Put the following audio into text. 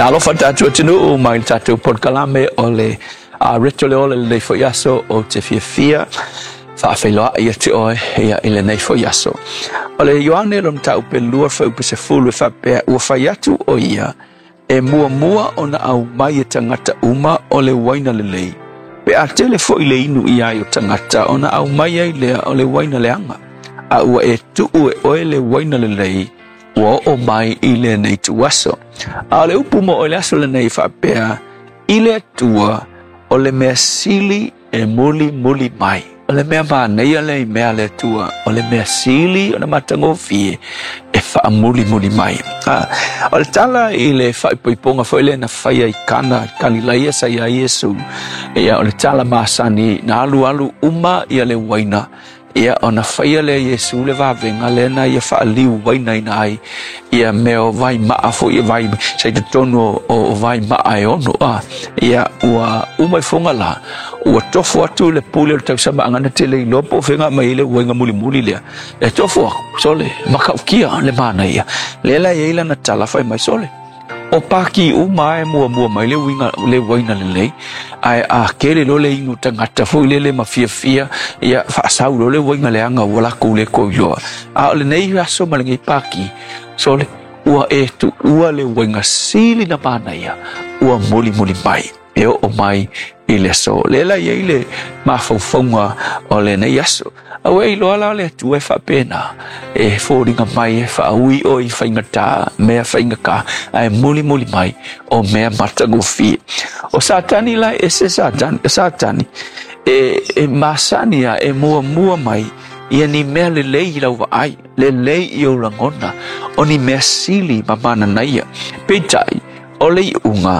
Ia alofa tatou atunuu mai le tatou polokalame o le Reto le Ola i lenei foi aso ou te fiafia faafeiloai ia te oe ia i lenei foi aso. O le Ioane lona mataupu e 2 fuaiupu 10 e faapea ua fai atu o ia e muamua ona aumai e tagata uma o le uaina lelei. Pe a tele foi le inu ia ai o tagata ona aumai ai lea o le uaina leaga. A ua e tuu e oe le uaina lelei ua oo mai i lenei ituaso. A o le upu mo oe le aso lenei e faapea, i le Atua o le mea sili e mulimuli mai. O le mea manaia lea i mea a le Atua, o le mea sili ona matagofie e faamulimuli mai. O le tala i le faaipoipoga foi lea na faia i Kana, Kalilaia sa i ai Iesu, ia o le tala masani na alualu uma ia le uaina. Ia, ona faia lea e Iesu le vavega lea na ia faaliu uainaina ai ia mea o vaimaa foi e vai sa i totonu o vaimaa e ono a. Ia, ua uma ifoga la, ua tofo atu le pule o le tausamaaga na te le iloa po o fea na aumai ai le uaiga mulimuli lea. E tofo aku, sole, matautia le manaia. Lea la e i ai lana tala fai mai, sole, O paki uma e muamua mai le uiga le uaina lelei, ae a kele loa le inu tagata foi lele ma fiafia, ia faasau loa le uaina leaga ua latou le toe iloa. A o lenei aso ma lenei paki, sole, ua e tuua le uaina sili na manaia, ua mulimuli mai e oo mai i le aso. Lea la e i ai le mafaufauga o lenei aso. Aua e iloa la o le Atua e faapena, e foliga mai e faaui oe i faigata, mea faigata, ae mulimuli mai o mea matagofie. O Satani la e ese Satani, o Satani e masani a e muamua mai ia ni mea lelei i lau vaai, lelei i ou lagona, o ni mea sili ma mananaia. Peitai, o le iuga,